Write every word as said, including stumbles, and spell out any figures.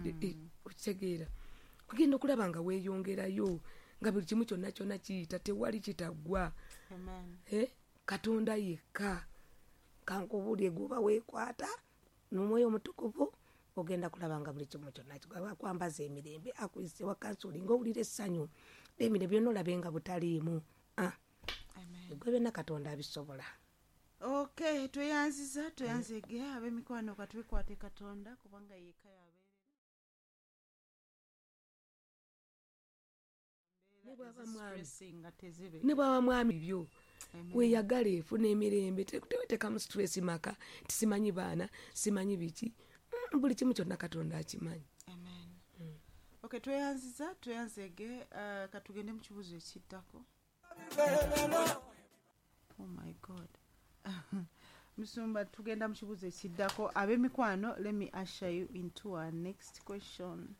Eh, okitegeera, ogenda okulaba nga weeyongerayo, nga buli kimu kyonna kyonna kiyita, tewali kitaggwa. Amen. Eh, Katonda yekka. Kankubuulire, gwoba weekwata n'omwoyo omutukuvu, ogenda kulaba nga buli kimu kyonna kigwa. Akwambaza emirembe, akuyise wa kansulinga, owulira essanyu n'emirembe byonna, olabe nga butaliimu. Ah, Amen. Gwe byonna Katonda abisobola. Okay, tweyanziza, tweyanzege ab'emikwano, katwekwate Katonda kubanga yekka yabeerera. Ne bw'aba mwami. Stressing nga tezibe. Ne bw'aba mwami byo. Amen. Weeyagale, efuna emirembe, te-, teweteekamu stress maka, ti simanyi baana, simanyi biki. Mm, buli kimu kyonna Katonda akimanyi. Amen. Mm. Okay, tweyanziza, tweyanzege, uh, katugende mu kibuuzo ekiddako. Oh my God. Musumba, tugenda mu kibuuzo ekiddako. Ab'emikwano, let me usher you into our next question.